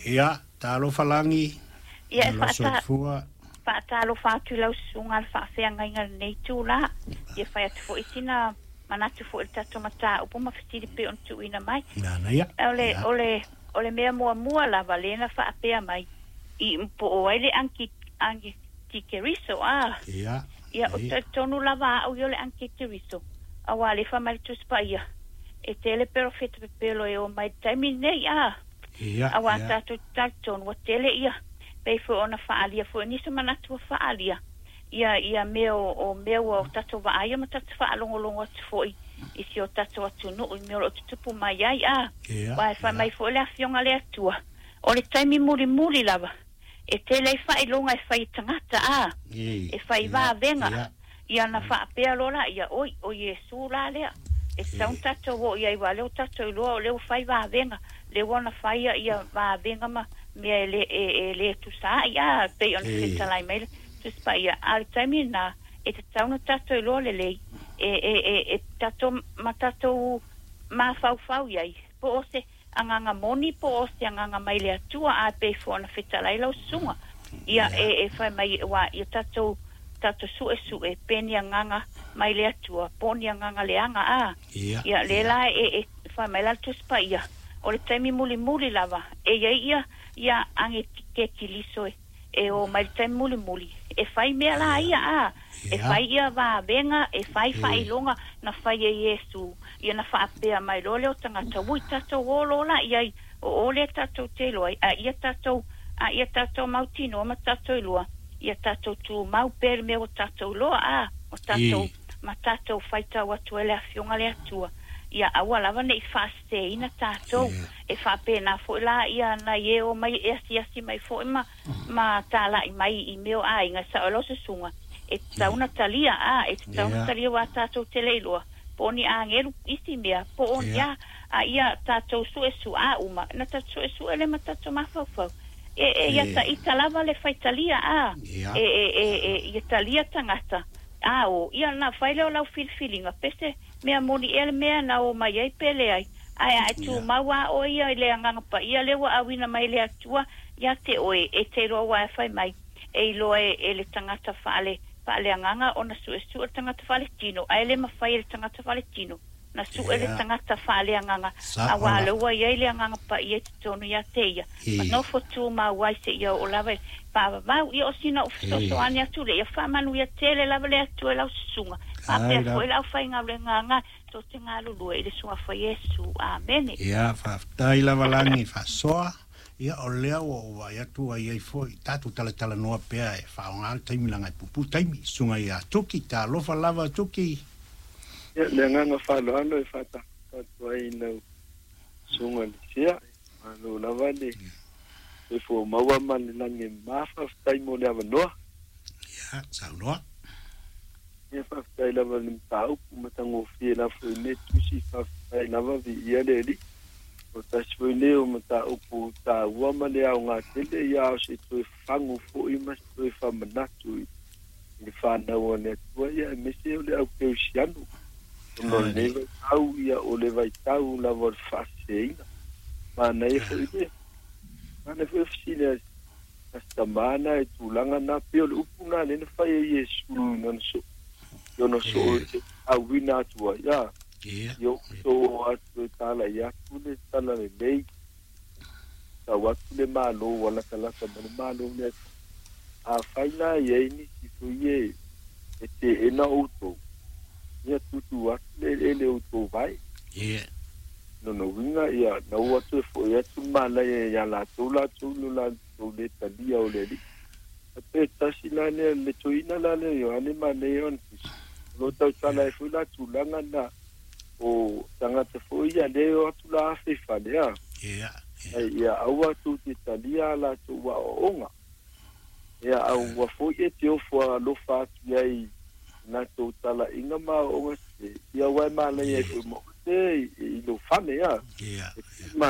Ia, talofa Lagi. Ia e Malo soifua. Faatalofa atu i lau susuga le faafeagaiga i lenei itula. Ia fai atu foi sina manatu foi i le tatou mataupu ma fesili pei ona tuuina mai. Manaia. O le, o le, o le mea muamua lava lea na faapea mai i po o ai le Antikeriso, a? Ia. Ia, o talitonu lava au ia o le Antikeriso, auā lea e fai mai le Tusi Paia, e tele perofeta pepelo e o mai i le taimi lenei, a? Ia. Auā Ia. Tatou te talitonu ua tele ia, pei foi ona faaalia foi nisi o manatu ua faaalia, ia, ia mea o, o mea ua o tatou vaaia ma tatou faalogologo atu foi i si o tatou atunuu i mea o lo o tutupu mai ai, a? Ia. Aua e fai Ia. mai foi le Afioga a le Atua, o le taimi mulimuli lava, e tele ai faailoga e fai e tagata, a? E fai vavega. Ia ona faapea loa laia, Oi, o Iesu la lea. E tatau ona tatou o i ai, aua o lea ua tatou iloa o lea ua fai vavega, lea ua ona faia ia vavega ma mea e le, e, e le tusa ai, a, pei ona fetalai mai le Tusi Paia. A o le taimi lena, e tatau ona tatou iloa lelei, e, e, e, e tatou, ma tatou mafaufau i ai, po o se agaga moni po o se agaga mai le Atua, a pei foi ona fetalai lau susuga. Ia, e, e fai mai, aua ia tatou, tatou suesue pe ni agaga mai le Atua, po o ni agaga leaga, a. Ia. Ia, lea la e, e fai mai la le Tusi Paia, o le taimi mulimuli lava, e i ai ia, ia age kekiliso e, e o mai le taimi mulimuli, e fai mea la ia, a, e fai ia vavega, e fai faailoga na fai e Iesu, ia na faapea mai loa lea o tagata, ui tatou o loa la i ai, o o lea tatou te iloa ai, a ia tatou, a ia tatou mautinoa ma tatou iloa, ia tatou tumau pea i le mea ua tatou iloa, a, o tatou, ma tatou faitau atu ai le Afioga a le Atua, ia aua lava ne i faaseseina tatou. E faapena foi la ia nai e o mai e asiasi mai foi ma, ma talai mai i mea o aiga, e sao ai lau susuga, e tatau ona talia, a, e tatau ona talia aua tatou te le iloa po o ni agelu isi mea, po o ni a, a ia tatou suesu'a uma, na tatou suesue lea ma tatou mafaufau. E, e ia ita lava le faitalia, a, e, e, e, e, ia talia tagata, a o, ia ona fai lea o lau filifiliga, pe se mea moni ea le mea na o mai ai pe leai. Ae a e tumau a oe ia i le Agaga Paia lea ua auina mai e le Atua ia te oe, e te iloa aua e fai mai, e iloa e, e le tagata faale, faaleagaga ona suesue le tagata faaletino, ae le mafai e le tagata faaletino na sue le tagata faaleagaga, Sao auā lava. lea ua i ai le Agaga Paia i totonu ia te ia, ma nofo tumau ai seia oo lava i le faavavau. Ia o sina ou fesoasoani atu lea, ia faamanuia tele lava le Atua i lau susuga, faapea Ai foi lava. le aufaigaluega tou te galulue i le Suafa Iesu. Amene. Ia, faafetai lava Lagi faasoa. Ia, o lea ua ou vaai atu ua i ai foi tatou talatalanoa pea e faaaoga le taimi leaga e puupuu taimi. Susuga ia Tuki, talofa lava Tuki. Ia, le agaga faaaloalo e faatalofa atu ai i lau susuga Lisia. Malo lava le soifua maua ma le lagi e mama. Faafetai mo le avanoa. Ia, saunoa. Ia, faafetai lava i le mataupu matagofie la foi nei tusi. Faafetai lava, viia le Alii. O tasi foi lenei o mataupu taua ma le aoga tele, ia a o se toe fagu foi ma se toe faamanatu i le fanau a le Atua, ia aemaise o le au kerisiano. Ona o lenei vaitau, ia o le vaitau lava o le faaseseina. Manaia foi le manaia foi le fesili a a si tamā na i tulaga na, pei o le upu na lea na fai e Iesu i lana soo, i ona soo e auina atu ai, a, ia ou soo atu e talai atu le talalelei, tau atu le Malo ua latalata mai le Malo o le Atua. Afai la e i ai nisi foi e e teena outou, ia tuutuu atu le eleele o outou vae. Lona uiga, ia, na ua toe foi atu le malaia ia latou latou i lo latou le talia o le Alii. A pe tasi la lea, le toeaina la lea o Ioane manaia ona tusi, o lo o tautala ai foi la tulaga na o tagata foi ia lea e o atu la afe i fale, a. Ai, ia aua tou te talia a latou aoaoga. Ia, a ua foi e te ofo alofa atu i ai i latou talaiga ma aoaoga sese, ia aua e malaia ai foi ma oe i lou fale, a. E